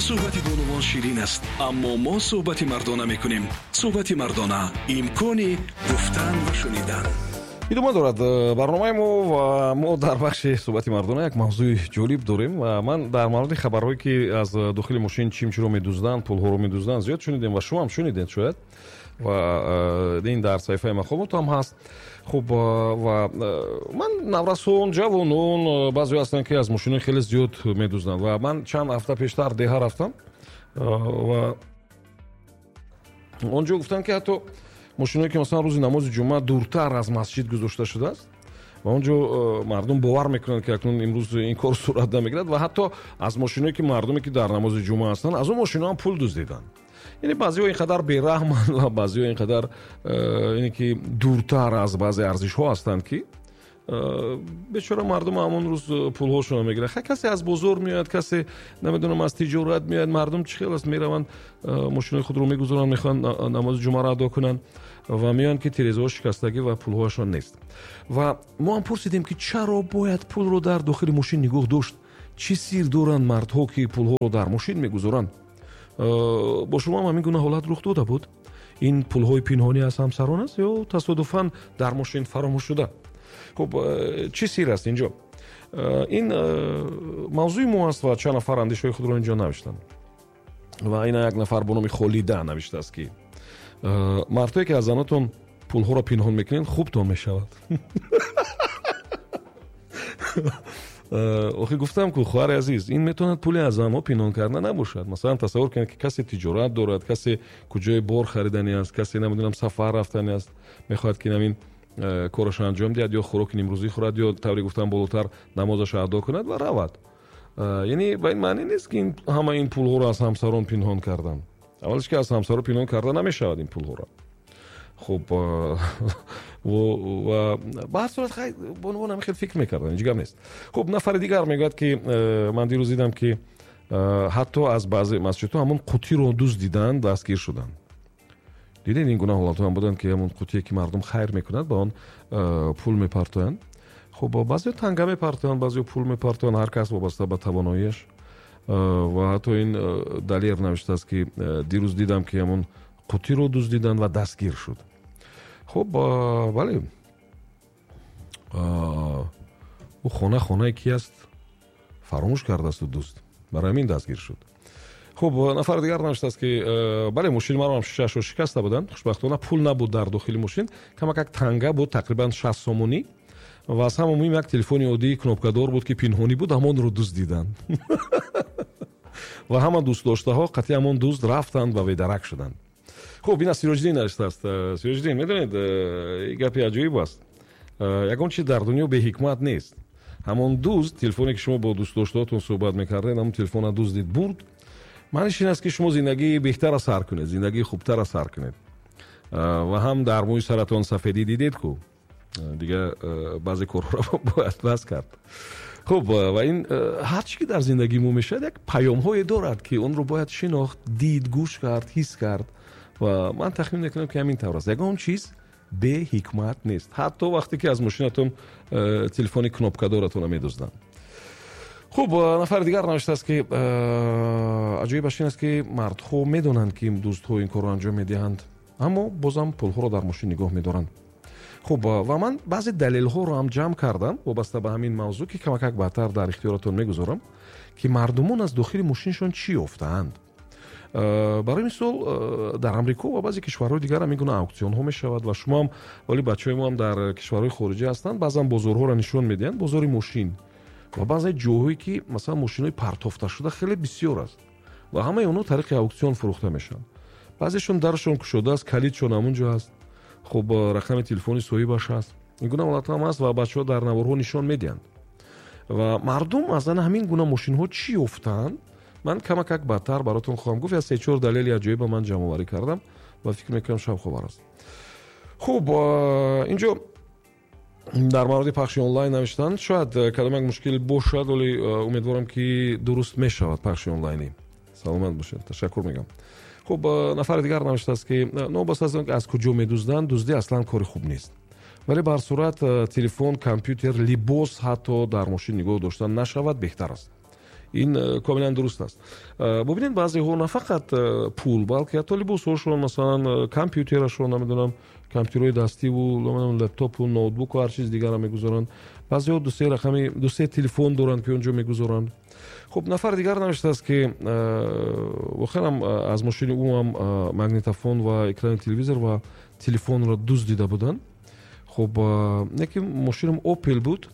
Суҳбати бонувон ширин аст, аммо мо суҳбати мардона мекунем. Суҳбати мардона — имкони гуфтан ва шунидан. Идома дорад барномаи мо ва мо дар бахши суҳбати мардона як мавзӯи ҷолиб дорем. Ва ман дар мавриди хабарҳое, ки аз дохили мошин чимчиро медузданд, пулҳоро медузданд, зиёд шунидем ва шумо ҳам шунидед шояд, ва ин дар саҳифаи мақомот ҳам ҳаст. Хуб, ва ман наврасон, ҷавонон, баъзеҳо ҳастанд, ки аз мошинои хеле зиёд медузданд. Ва ман чанд ҳафта пештар деҳа рафтам ва он ҷо гуфтанд, ки ҳатто мошиное, ки масалан рӯзи намози ҷумъа дуртар аз масҷид гузошта шудааст ва он ҷо мардум бовар мекунанд, ки акнун имрӯз ин кор сурат намегирад, ва ҳатто аз мошиное, ки мардуме, ки дар намози ҷумъа ҳастанд, аз он мошино ҳам пул дуздиданд. Яъне баъзеҳо ин қадар бераҳманд ва баъзеҳо ин қадар ине ки дуртар аз баъзе арзишҳо ҳастанд, ки бечора мардум ҳамон рӯз пулҳошонро мегиранд. Хай, касе аз бозор меояд, касе, намедонам, аз тиҷорат меояд. Мардум чӣ хел аст? Мераванд, мошинои худро мегузоранд, мехоҳанд намози ҷумъаро адо кунанд ва меоянд, ки тирезаҳо шикастагӣ ва пулҳояшон нест. Ва мо ҳам пурсидем, ки чаро бояд пулро дар дохили мошин нигоҳ дошт? Чӣ сир доранд мардҳо, ки пулҳоро дар мошин мегузоранд? Бо шумо ҳам ҳамин гуна ҳолат рух дода буд? Ин пулҳои пинҳонӣ аз ҳамсарон аст ё тасодуфан дар мошин фаромӯш шуда? Хуб, чӣ сир аст инҷо? Ин мавзӯи мо аст ва чанд нафар андешаҳои худро инҷо навиштанд. Ва ина як нафар бо номи Холида навиштааст, ки мардҳое, ки аз занотон пулҳоро пинҳон мекунед, хубтон мешавад. Охи, гуфтам ку, хоҳари азиз, ин метавонад пули аз занҳо пинҳон карда набошад. Масалан, тасаввур кунед, ки касе тиҷорат дорад, касе куҷое бор хариданӣ аст, касе, намедонам, сафар рафтанӣ аст, мехоҳад, ки намин корашро анҷом диҳад ё хӯроки нимрӯзӣ хӯрад ё, тавре гуфтам болотар, намозашро адо кунад ва равад. Яъне ба ин маъне нест, ки ҳама ин пулҳоро аз ҳамсарон пинҳон карданд. Аввалаш, ки аз ҳамсаро пинҳон карда намешавад ин пулҳоро. Хуб, ва ба ҳар сурат, хай, бонувон ҳам хел фикр мекарданд, ҳеҷ гап нест. Хуб, нафари дигар мегӯяд, ки ман дирӯз дидам, ки ҳатто аз баъзе масҷидҳо ҳамон қутиро дуздиданд, дастгир шуданд. Дидед, ин гуна ҳолатҳо ҳам буданд, ки ҳамон қутие, ки мардум хайр мекунад, ба он пул мепартоянд. Хуб, баъзеҳо танга мепартоянд, баъзеҳо пул мепартоянд, ҳар кас вобаста ба тавоноияш. Ва ҳатто ин Далер навиштааст, ки дирӯз дидам, ки ҳамон қутиро дуздиданд ва дастгир шуд. Хуб, бале, ӯ хона хонаи ки аст, фаромӯш кардасту дузд, барои ҳамин дастгир шуд. Хуб, нафари дигар навиштааст, ки бале, мошини маро ҳам шишаашро шикаста буданд. Хушбахтона, пул набуд дар дохили мошин, камак як танга буд, тақрибан 60 сомонӣ, ва аз ҳама муҳим, як телефони оддии кнопкадор буд, ки пинҳонӣ буд, ҳамонро дуздиданд ва ҳама дӯстдоштаҳо қатъи ҳамон дузд рафтанд ва бедарак шуданд. Хуб, ина Сироҷиддин навиштааст. Сироҷиддин, медонед, гапи аҷоиб аст: ягон чиз дар дунё беҳикмат нест. Ҳамон дузд телефоне, ки шумо бо дӯстдоштаҳотон суҳбат мекардед, ҳамон телефонро дуздид, бурд. Маъниш ин аст, ки шумо зиндагии беҳтара сар кунед, зиндагии хубтара сар кунед. Ва ҳам дар мӯи саратон сафедӣ дидед ку, дига баъзе корҳоро бояд бас кард. Хуб, ва ин ҳар чи ки дар зиндагии мо мешавад, як паёмҳое дорад, ки онро бояд шинохт, дид, гӯш кард, ҳис кард. Ва ман тахмин мекунам, ки ҳамин тавр аст. Ягон чиз беҳикмат нест, ҳатто вақте ки аз мошинатон телефони кнопкадоратонро медузданд. Хуб, нафари дигар навиштааст, ки аҷоибаш ин аст, ки мардҳо медонанд, ки дуздҳо ин корро анҷом медиҳанд, аммо бозам пулҳоро дар мошин нигоҳ медоранд. Хуб, ва ман баъзе далелҳоро ҳам ҷамъ кардам вобаста ба ҳамин мавзӯъ, ки камакак баъдтар дар ихтиёратон мегузорам, ки мардумон аз дохили мошиншон чӣ ёфтаанд. Барои мисол, дар Амрико ва баъзе кишварҳои дигар ҳамин гуна ауксионҳо мешавад ва шумоам, вале бачаҳои мо ҳам дар кишварҳои хориҷӣ ҳастанд, баъзан бозорҳоро нишон медиҳанд, бозори мошин ва баъзе ҷойҳое, ки масалан мошинҳои партофташуда хеле бисёр аст ва ҳамаи онҳо тариқи ауксион фурӯхта мешаванд. Баъзешон дарашон кушода аст, калидшон ҳамон ҷо аст, хуб, рақами телефони соҳибаш ҳаст. Ин гуна ҳолатҳо ҳам аст ва бачаҳо дар наворҳо нишон медиҳанд. Ва мардум аз ана ҳамин гуна мошинҳо чӣ ёфтаанд, ман камакак баъдтар баротон хоҳам гуфт. Як се-чор далели аҷоиба ман ҷамъоварӣ кардам ва фикр мекунам, шавқовар аст. Хуб, инҷо дар мавриди пахши онлайн навиштанд. Шояд кадом як мушкил бошад, вале умедворам, ки дуруст мешавад пахши онлайнӣ. Саломат бошед, ташаккур мегӯям. Хуб, нафари дигар навиштааст, ки новобаста аз он ки аз куҷо медузданд, дуздӣ аслан кори хуб нест, вале ба ҳар сурат телефон, компютер, либос ҳатто дар мошин нигоҳ дошта нашавад, беҳтар аст. Ин комилан дуруст аст. Бубинед, баъзеҳо на фақат пул, балки ҳатто либосҳошон, масалан, компютерашон, намедонам, компютерҳои дастиву лэптопу ноутбуку ҳар чиз дигарро мегузоранд. Баъзеҳо дусе рақами, дусе телефон доранд, ки он ҷо мегузоранд. Хуб, нафари дигар навиштааст, ки воқеан аз мошини ӯ ҳам магнитофон ва экрани телевизор ва телефонро дуздида буданд. Хуб, яке мошинам Опел буд,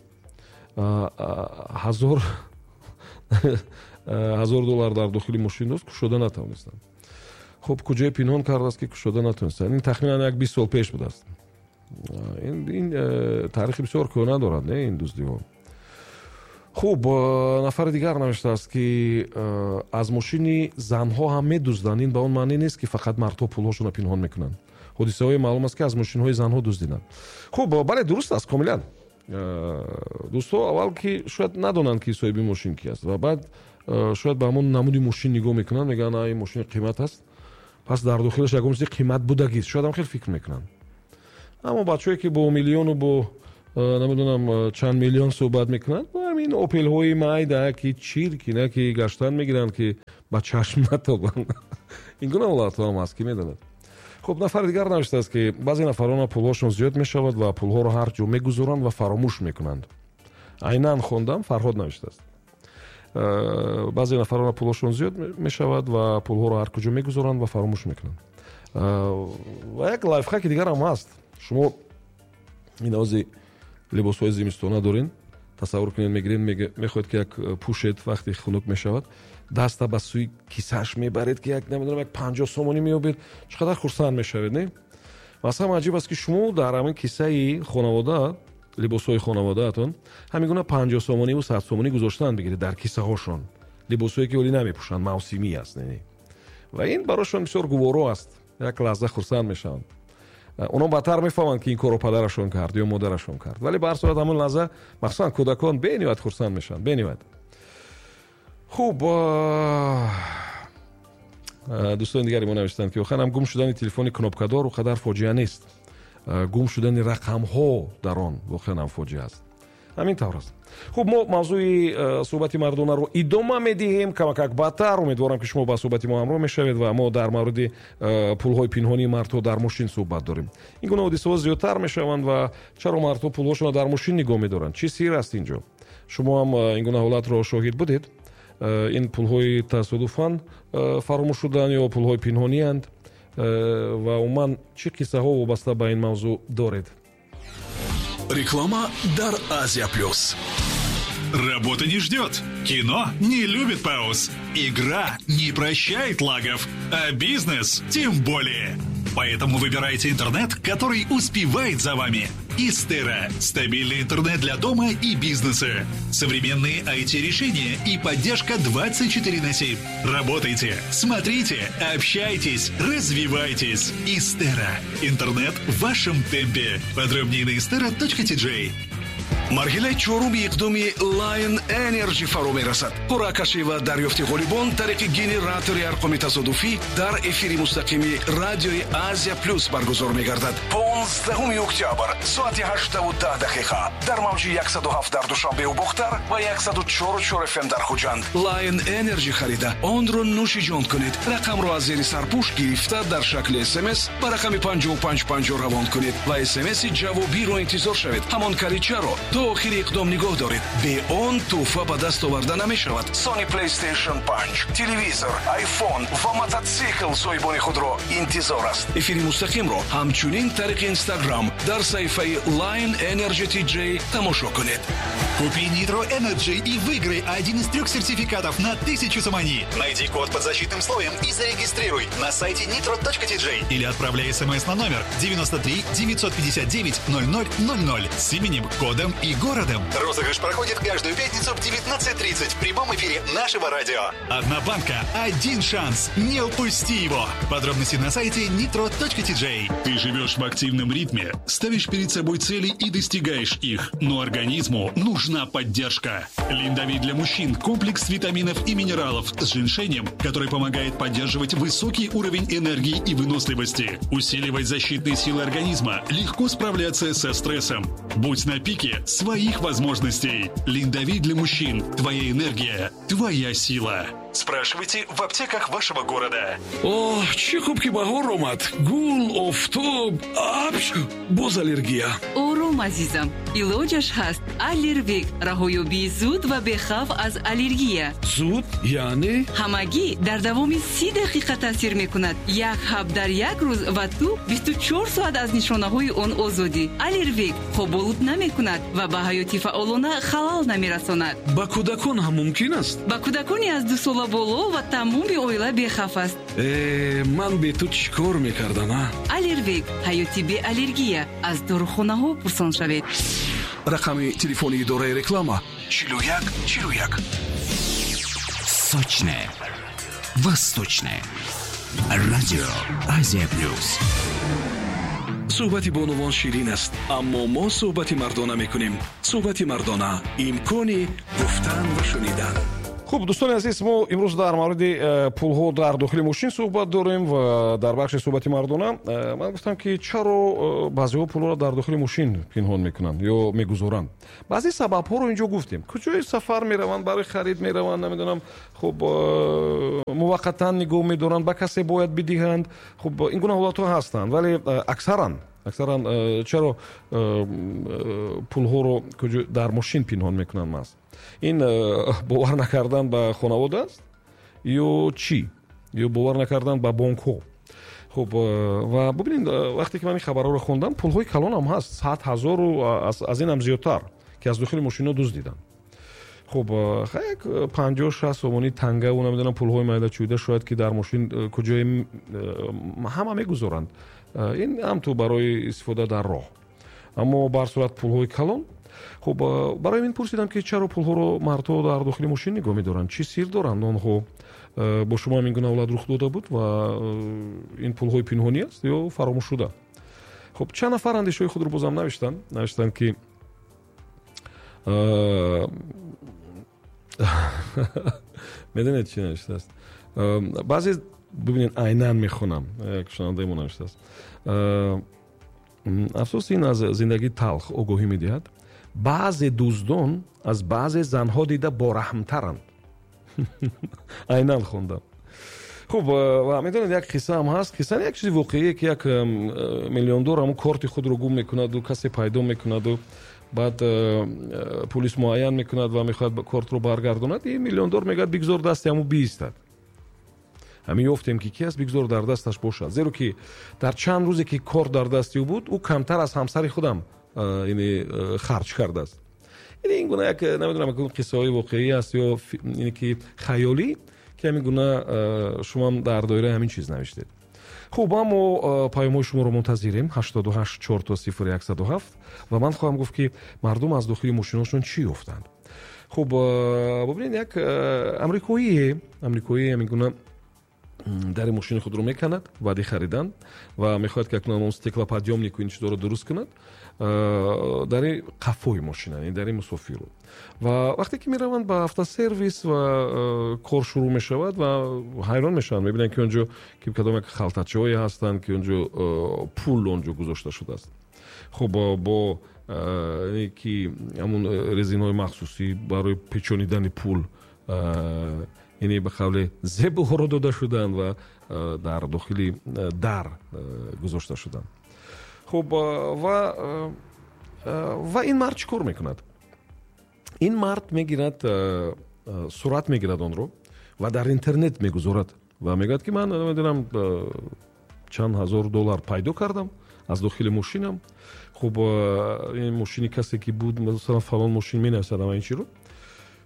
1000 доллар дар дохили мошин дошт, кушода натавонистам. Хуб, куҷое пинҳон кардааст, ки кушода натавонистам? Ин тахминан як 20 сол пеш будааст. Ин таърихи бисёр кӯҳна дорад, не, ин дуздиҳо. Хуб, нафари дигар навиштааст, ки аз мошини занҳо ҳам медузданд. Ин ба он маъне нест, ки фақат мардҳо пулҳошонро пинҳон мекунанд. Ҳодисаҳое маълум аст, ки аз мошинҳои занҳо дуздиданд. Хуб, бале, дуруст аст комилан. Дӯстҳо аввал ки шояд надонанд, ки соҳиби мошин ки аст, ва баъд шояд ба ҳамон намуди мошин нигоҳ мекунанд, мегӯянд, ин мошини қимат аст, пас дар дохилаш ягон чизи қимат будагист. Шояд ҳам хел фикр мекунанд. Аммо бачаҳое, ки бо миллиону бо намедонам чанд миллион суҳбат мекунанд, ҳамин Опелҳои майда, ки чирки на, ки гаштан мегиранд, ки ба чашм натобанд. Ин гуна ҳолатҳо ҳам аст, ки медонад. Хуб, нафари дигар навиштааст, ки баъзе нафарона пулҳошон зиёд мешавад ва пулҳоро ҳар ҷо мегузоранд ва фаромӯш мекунанд. Айнан хондам, Фарҳод навиштааст: баъзе нафарона пулҳошон зиёд мешавад ва пулҳоро ҳар куҷо мегузоранд ва фаромӯш мекунанд. Ва як лайфхаки дигарам ҳаст. Шумо ин ози либосҳои зимистона дорен, тасаввур кунед, мегиред, мехоҳед, ки як пӯшед, вақте хунук мешавад, даста ба сӯи кисааш мебаред, ки як, намедонам, як 50 сомонӣ меёбед. Чӣ қадар хурсанд мешавед, не? Ва аз ҳама аҷиб аст, ки шумо дар ҳамин кисаи хонавода, либосҳои хонаводаатон, ҳамин гуна 50 сомониву 100 сомонӣ гузоштан бигиред дар кисаҳошон, либосҳое ки ҳолӣ намепӯшанд, мавсимӣ аст, не? Ва ин барошон бисёр гуворо аст, як лаҳза хурсанд мешаванд. Онҳо баъдтар мефаҳманд, ки ин корро падарашон кард ё модарашон кард, вале ба ҳар сурат ҳамон лаҳза, махсусан кӯдакон, бениҳоят хурсанд мешаванд, бениҳоят. Хуб, дӯстони дигари мо навиштанд, ки охирам гум шудани телефони кнопкадор о қадар фоҷиа нест, гум шудани рақамҳо дар он воқеан ҳам фоҷиа аст. Ҳамин тавр аст. Хуб, мо мавзӯи суҳбати мардонаро идома медиҳем камакак баъдтар. Умедворам, ки шумо ба суҳбати мо ҳамроҳ мешавед ва мо дар мавриди пулҳои пинҳонии мардҳо дар мошин суҳбат дорем. Ин гуна ҳодисаҳо зиёдтар мешаванд ва чаро мардҳо пулҳошонро дар мошин нигоҳ медоранд? Чӣ сир аст ин ҷо? Шумо ҳам ин гуна ҳолатро шоҳид будед? Ин пулҳои тасодуфан фаромӯш шуданд ё пулҳои пинҳонианд? Ва умуман, чӣ қиссаҳо вобаста ба ин мавзӯъ доред? Реклама дар Азия Плюс. Работа не ждет. Кино не любит пауз. Игра не прощает лагов. А бизнес тем более. Поэтому выбирайте интернет, который успевает за вами. Истера. Стабильный интернет для дома и бизнеса. Современные IT-решения и поддержка 24 на 7. Работайте, смотрите, общайтесь, развивайтесь. Истера. Интернет в вашем темпе. Подробнее на istera.tj. Марҳилаи чоруми иқдоми Lion Energy фаро мерасад. Қуръакашӣ ва дарёфти ғолибон тариқи генератори арқоми тасодуфӣ дар эфири мустақими радиои Азия Плюс баргузор мегардад. 15 октябр, соати 8:10, дар мавҷи 107 дар Душанбеу Бохтар ва 104,4 FM дар Хуҷанд. Lion Energy харида, онро нӯши ҷон кунед. Рақамро аз зери сарпӯш гирифта, дар шакли СМС ба рақами 5550 равон кунед ва СМСи ҷавобиро интизор шавед. Ҳамон калидчаро то охири иқдом нигоҳ доред. Бе он тӯҳфа ба даст оварда намешавад. Sony PlayStation 5, телевизор, iPhone ва мототсикл соҳибони худро интизор аст. Эфири мустақимро ҳамчунин тариқи Инстаграм дар саҳифаи Lion Energy TJ тамошо кунед. Купи Nitro Energy и выиграй один из трех сертификатов на 1000 сомони. Найди код под защитным слоем и зарегистрируй на сайте nitro.tj или отправляй смс на номер 93 959 0000 с именем, кодом и городом. Розыгрыш проходит каждую пятницу в 19:30 в прямом эфире нашего радио. Одна банка, один шанс. Не упусти его. Подробности на сайте nitro.tj. Ты живешь в активном ритме, ставишь перед собой цели и достигаешь их. Но организму нужна поддержка. Линдовит для мужчин – комплекс витаминов и минералов с женьшенем, который помогает поддерживать высокий уровень энергии и выносливости, усиливать защитные силы организма, легко справляться со стрессом. Будь на пике с своих возможностей. Линдовит для мужчин. Твоя энергия, твоя сила. Спрашивайте в аптеках вашего города. Оҳ, чӣ хуб, ки баҳор омад! Гул, офтоб, апш, боз аллергия. Ором, азизам, илоҷаш ҳаст. Аллервек — раҳоёбии зуд ва бехавф аз аллергия. Зуд яъне? Ҳамагӣ дар давоми 30 дақиқа таъсир мекунад. Як ҳаб дар як рӯз ва ту 24 соат аз нишонаҳои он озодӣ. Аллервек хоболуд намекунад ва ба ҳаёти фаъолона халал намерасонад. Ба кӯдакон ҳам мумкин аст? Ба кӯдакони аз 2 сола боло ва тамоми оила бехавф аст. Э, ман бе ту чӣ кор мекардам, а? Аллервек — ҳаёти беаллергия. Аз дорухонаҳо пурсон шавед. Рақами телефони идораи реклама: 41 41. Сочное. Восточное. Радио Азия Плюс. Суҳбати бонувон ширин аст, аммо мо суҳбати мардона мекунем. Суҳбати мардона — имкони гуфтан ва шунидан. Хуб, дӯстони азиз, мо имрӯз дар мавриди пулҳо дар дохили мошин суҳбат дорем ва дар бахши суҳбати мардона ман гуфтам, ки чаро баъзеҳо пулҳоро дар дохили мошин пинҳон мекунанд ё мегузоранд. Баъзе сабабҳоро инҷо гуфтем: куҷои сафар мераванд, барои харид мераванд, намедонам, хуб, муваққатан нигоҳ медоранд, ба касе бояд бидиҳанд. Хуб, ин гуна ҳолатҳо ҳастанд, вале аксаран чаро пулҳоро дар мошин пинҳон мекунанд? Маст ин бовар накардан ба хонавода аст ё чӣ, ё бовар накардан ба бонкҳо? Хуб, ва бубинед, вақте ки ман ин хабарҳоро хондам, пулҳои калонам ҳаст, 100 000-у аз ин ҳам зиёдтар, ки аз дохили мошинҳо дуздиданд. Хуб, як 50-60 сомонӣ тангаву, намедонам, пулҳои майда чӯйда шояд ки дар мошин куҷое ҳама мегузоранд. Ин ҳам ту барои истифода дар роҳ, аммо ба ҳар сурат пулҳои калон. Хуб, барои ин пурсидам, ки чаро пулҳоро мардҳо дар дохили мошин нигоҳ медоранд, чӣ сир доранд онҳо. Бо шумо ҳам ин гуна ҳолат рух дода буд ва ин пулҳои пинҳонӣ аст ё фаромӯшшуда? Хуб, чанд нафар андешаҳои худро бозам навиштанд, ки медонед, чӣ навиштааст баъзе? Бибинед, айнан мехонам, як шунавандаи мо навиштааст: «Афсӯс, ин аз зиндагии талх огоҳӣ медиҳад. Баъзе дуздон аз баъзе занҳо дида бораҳмтаранд». Айнан хондам. Хуб, ва медонед, як қиссаам ҳаст, қисса, як чизи воқеие, ки як миллиондор ҳамун корти худро гум мекунаду касе пайдо мекунаду баъд пулис муайян мекунад ва мехоҳад кортро баргардонад. Ин миллиондор мегӯяд: «Бигзор дасти ҳамун биистад, ҳамин ёфтем, ки ки аст, бигзор дар дасташ бошад, зеро ки дар чанд рӯзе ки корт дар дасти ӯ буд, ӯ камтар аз ҳамсари худам яъне харҷ кардааст». Яъне ин гуна як, намедонам, қиссаҳои воқеӣ аст ё ине ки хаёлӣ, ки ҳамин гуна шумоам дар доираи ҳамин чиз навиштед. Хуб, аммо паёмҳои шуморо мунтазирем: 88 000 107. Ва ман хоҳам гуфт, ки мардум аз дохили мошинҳошон чӣ ёфтанд. Хуб, бубинед, як амрикоӣ ҳамин гуна дари мошини худро меканад баъди харидан ва мехоҳад, ки акнун он стеклоподъёмнику ин чизҳоро дуруст кунад, дари қафои мошина, яъне дари мусофиру. Ва вақте ки мераванд ба автосервис ва кор шурӯъ мешавад ва ҳайрон мешаванд, мебинанд, ки онҷо ки кадом як халтачаҳое ҳастанд, ки онҷо пул онҷо гузошта шудааст. Хуб, бо ки ҳамун резинҳои махсусӣ барои печонидани пул, яъне ба қавле зебоҳоро дода шуданд ва дар дохили дар гузошта шуданд. Хуб, ва ин мард чӣ кор мекунад? Ин мард мегирад, сурат мегирад онро ва дар интернет мегузорад ва мегӯяд, ки ман намедонам чанд ҳазор доллар пайдо кардам аз дохили мошинам. Хуб, ин мошини касе ки буд, масалан, фалон мошин, менависад ама ин чиро.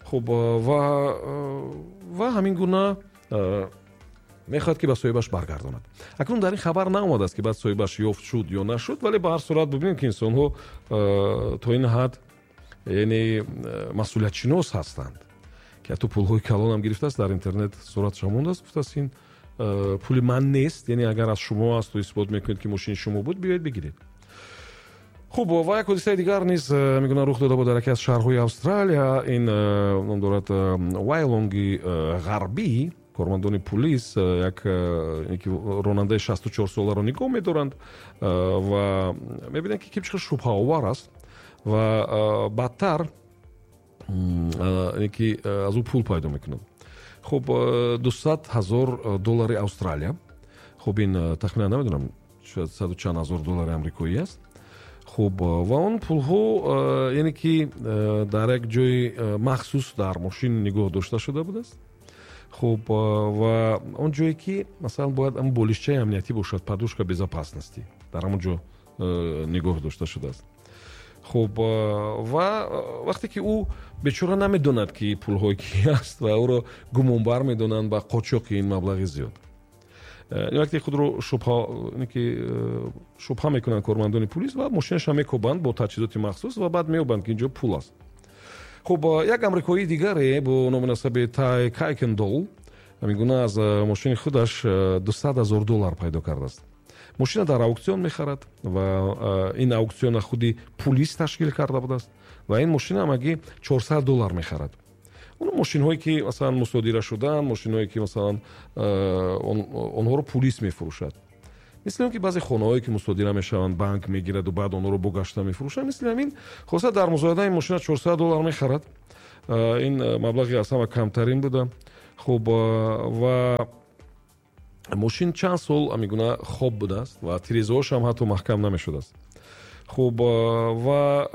Хуб, ва ҳамин гуна мехоҳад, ки ба соҳибаш баргардонад. Акнун дар ин хабар наомадааст, ки баъд соҳибаш ёфт шуд ё нашуд, вале ба ҳар сурат бибинем, ки инсонҳо то ин ҳад, яъне, масъулиятшинос ҳастанд, ки ҳатто пулҳои калонам гирифтааст, дар интернет суратша мондааст, гуфтааст: «Ин пули ман нест, яъне агар аз шумо асту исбот мекунед, ки мошини шумо буд, биёед бигиред». Хуб, ва як ҳодисаи дигар низ мегӯянд рух дода буд дар яке аз шаҳрҳои Австралия. Ин ном дорад Вайлонги Ғарбӣ. Кормандони пулис як ронандаи 64 соларо нигоҳ медоранд ва мебинанд, ки чӣ қадр шубҳаовар аст. Ва баъдтар ки аз ӯ пул пайдо мекунад. Хуб, 200 ҳазор доллари Австралия. Хуб, ин тахминан намедонам, шояд саду чанд ҳазор доллари амрикоӣ аст. Хуб, ва он пулҳо, яъне ки дар як ҷои махсус дар мошин нигоҳ дошта шуда будааст. Хуб, ва он ҷое ки масалан бояд ам болишчаи амниятӣ бошад, подушка безопасности, дар ҳамон ҷо нигоҳ дошта шудааст. Хуб, ва вақте ки ӯ бечора намедонад, ки пулҳои ки аст, ва ӯро гумонбар медонанд ба қочоқи ин маблағи зиёд. Вақте худро шубҳа мекунанд кормандони пулис ва мошинаша мекобанд бо таҷҳизоти махсус ва баъд меёбанд, ки ин ҷо пул аст. Хуб, як амрикоии дигаре бо номи насаби Тай Кайкендол ҳамин гуна аз мошини худаш 200 ҳазор доллар пайдо кардааст. Мошина дар аукцион мехарад ва ин аукциона худи пулис ташкил карда будааст ва ин мошина ҳамагӣ 400 доллар мехарад. Он мошинҳое ки масалан мусодира шудаанд, мошинҳое ки масалан онҳоро пулис мефурӯшад, мисли он ки баъзе хонаҳое ки мусодира мешаванд, банк мегираду баъд онҳоро бо гашта мефурӯшад, мисли ҳамин. Хулоса, дар музояда ин мошина 400 доллар мехарад. Ин маблағи аз ҳама камтарин буда. Хуб, ва мошин чанд сол ҳамин гуна хоб будааст ва тирезаҳошам ҳатто маҳкам намешудааст. Хуб, ва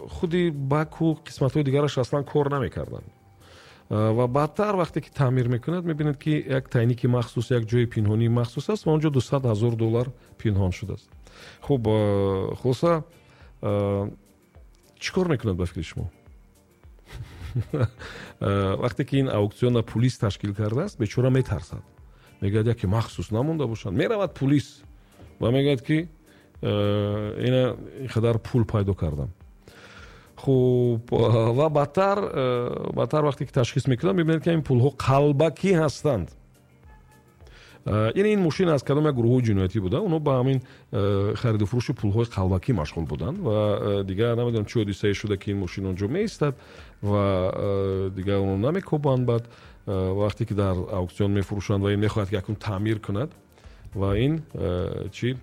худи баку қисматҳои дигараш аслан кор намекарданд. Ва баъдтар вақте ки таъмир мекунад, мебинад, ки як тайники махсус, як ҷои пинҳонии махсус аст ва он ҷо 200 ҳазор доллар пинҳон шудааст. Хуб, хулоса, чӣ кор мекунад ба фикри шумо? Вақте ки ин аукциона пулис ташкил кардааст, бечора метарсад, мегӯяд, яке махсус намонда бошанд. Меравад пулис ва мегӯяд, ки ина ин қадар пул пайдо кардам. Хуб, ва баъдтар вақте ки ташхис мекунанд, мебинанд, ки ин пулҳо қалбакӣ ҳастанд. Яъне ин мошин аз кадом як гурӯҳҳои ҷиноятӣ буда, онҳо ба ҳамин хариду фурӯши пулҳои қалбакӣ машғул буданд ва дигар намедонам, чӣ ҳодисае шуда, ки ин мошин он ҷо меистад ва дигар онро намекобанд. Баъд вақте ки дар аукцион мефурӯшанд ва ин мехоҳад, ки акнун таъмир кунад, ва ин чӣ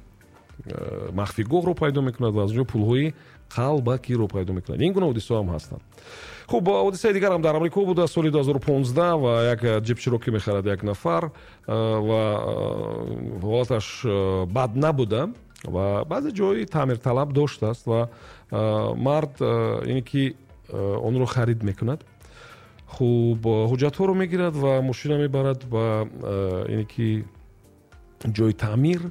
махфигоҳро пайдо мекунад ва аз он ҷо пулҳои қалбакиро пайдо мекунад. Ин гуна ҳодисаҳо ҳам ҳастанд. Хуб, ҳодисаи дигарам дар Амрико буда, соли 2015, ва як ҷип Чироки мехарад як нафар ва ҳолаташ бад набуда ва баъзе ҷои таъмирталаб доштааст ва мард ине ки онро харид мекунад. Хуб, ҳуҷҷатҳоро мегирад ва мошина мебарад ба ине ки ҷои таъмир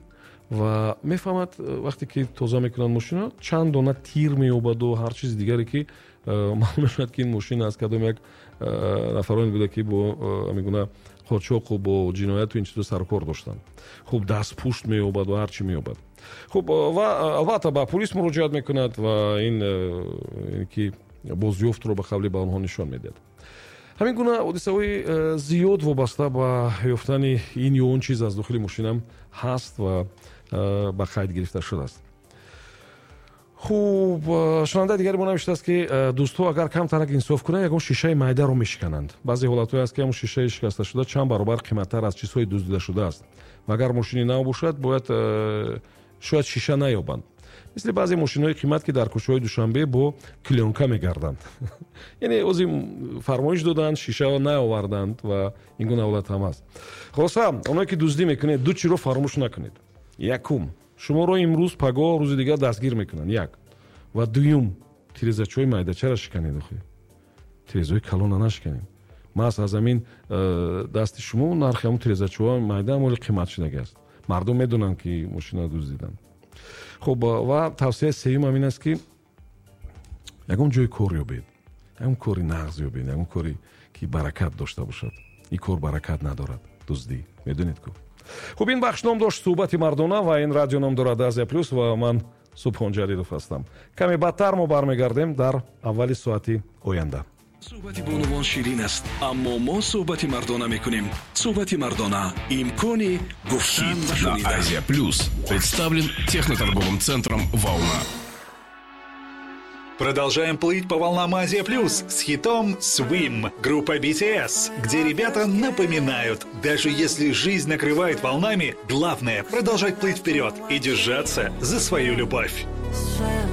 ва мефаҳмад, вақте ки тоза мекунанд мошина, чанд дона тир меёбаду ҳар чизи дигаре, ки маълум мешавад, ки ин мошин аз кадом як нафароне буда, ки бо ҳамин гуна қочоқу бо ҷинояту ин чизо сарукор доштанд. Хуб, дастпушт меёбад ва ҳар чӣ меёбад. Хуб, ва албатта ба пулис муроҷиат мекунад ва ин ки бозёфтро ба қавли ба онҳо нишон медиҳад. Ҳамин гуна ҳодисаҳои зиёд вобаста ба ёфтани ин ё он чиз аз дохили мошинам ҳаст ва ба қайд гирифта шудааст. Хуб, шунавандаи дигари мо навиштааст, ки дӯстҳо агар камтарак инсоф кунанд, ягон шишаи майдаро мешикананд. Баъзе ҳолатҳое аст, ки ҳамон шишаи шикасташуда чанд баробар қиматтар аз чизҳои дуздида шудааст ва агар мошини нав бошад, бояд шояд шиша наёбанд, мисли баъзе мошинҳои қимат, ки дар кӯчаҳои Душанбе бо клёнка мегарданд. Яъне ози фармоиш доданд, шиша наоварданд ва ин гуна ҳолат ҳам аст. Хулоса, оное ки дуздӣ мекунед, ду чиро фаромӯш накунед. Якум, шуморо имрӯз, пагоҳ, рӯзи дигар дастгир мекунанд, як. Ва дуюм, тирезачои майдачара шиканед, охи тирезаҳои калона нашиканед. Маҳз аз ҳамин дасти шумо нархи ҳамон тирезачоҳо майда моли қимат шудагӣ аст. Мардум медонанд, ки мошина дуздиданд. Хуб, ва тавсияи сеюм ҳам ин аст, ки ягон ҷои кор ёбед, ягон кори нағз ёбед, ягон коре ки баракат дошта бошад. Ин кор баракат надорад, дуздӣ, медонед ку. Хуб, ин бахш ном дошт «Суҳбати мардона» ва ин радио ном дорад «Азия Плюс» ва ман Субҳон Ҷалилов ҳастам. Каме баъдтар мо бармегардем, дар аввали соати оянда. Суҳбати бонувон ширин аст, аммо мо суҳбати мардона мекунем. Суҳбати мардона — имкони гуфтан ва Хит на шунидан. Азия Плюс представлен техноторговым центром «Волна». Продолжаем плыть по волнам Азия Плюс с хитом Swim группа BTS, где ребята напоминают: даже если жизнь накрывает волнами, главное — продолжать плыть вперед и держаться за свою любовь. Swim.